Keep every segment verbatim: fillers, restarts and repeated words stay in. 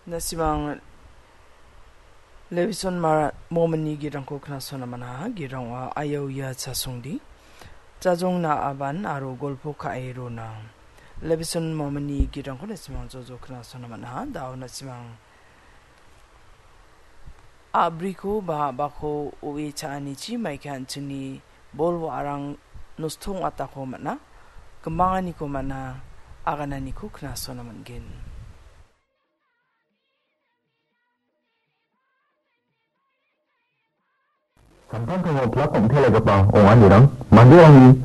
Na·simang Levison Mar-, Momini gitrangko knasona man·aha. Gitrang ong·a, Ayauya Chasongdi, Jajongna Aban aro Golpo Ka·e Rona. Levison Momini gitrangko na·simang jojo knasona man·aha. Da·o na·simang a·briko ba a·bako o·e cha·anichi maike an·chingni bol wa·arang nosto ong·atako man·a, gimanganiko man·a, agananiko knasona man·gen. Samtangtango pilak ong·telaigipa ong·anirang manderangni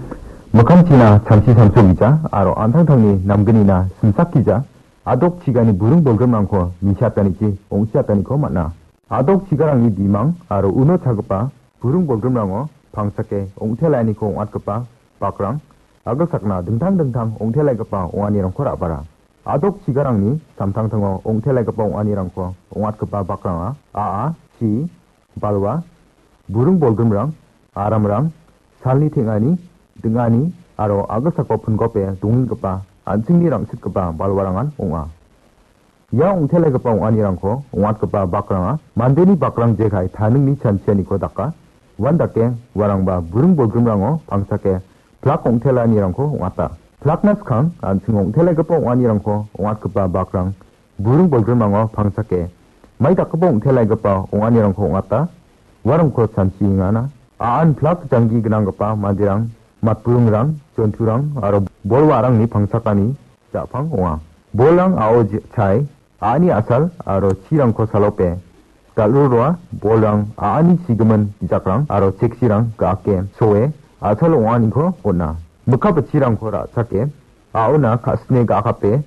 mikkangchina samsi samsogija aro an·tangtangni namgnina simsakgija, a·dok chigani buring bolgrimrangko misiatanichi ong·siataniko man·a. A·dok chigarangni bimang aro uno chagipa buring bolgrimrango pangchake ong·telainiko ong·atgipa bakrang, agilsakna dingtang dingtang ong·telaigipa ong·anirangko ra·bara. A·dok chigarangni samtangtango ong·telaigipa ong·anirangko ong·atgipa bakranga a·a, chi, balwa, buring bolgrimrang, aramrang, salni teng·ani, ding·ani aro agilsako pingope dongenggipa an·chingni rang·sitgipa balwarangan ong·a. Ia ong·telaigipa ong·anirangko ong·atgipa bakranga mandeni bakrang jekai taningni chanchianiko daka. Uandake uarangba buring bolgrimrango pangchake pilak ong·telanirangko ong·ata. Pilakna skang an·ching ong·telaigipa ong·anirangko ong·atgipa bakrang buring bolgrimrango pangchake mai dakgipa ong·telaigipa ong·anirangko ong·ata. Uarangko chanchiengana. A·an pilak janggi gnanggipa manderang, matburingrang, jonturang aro bol wa·arangni pangchakani ja·pang ong·a. Bolrang a·o je-, chae, a·ani a·sal aro chirangko salope dal·rurua, bolrang a·ani sigimin bijakrang aro cheksirang ga·ake soe a·sal ong·aniko on·a. Mikka bitchirangko ra·chake a·ona ka·sine ga·akape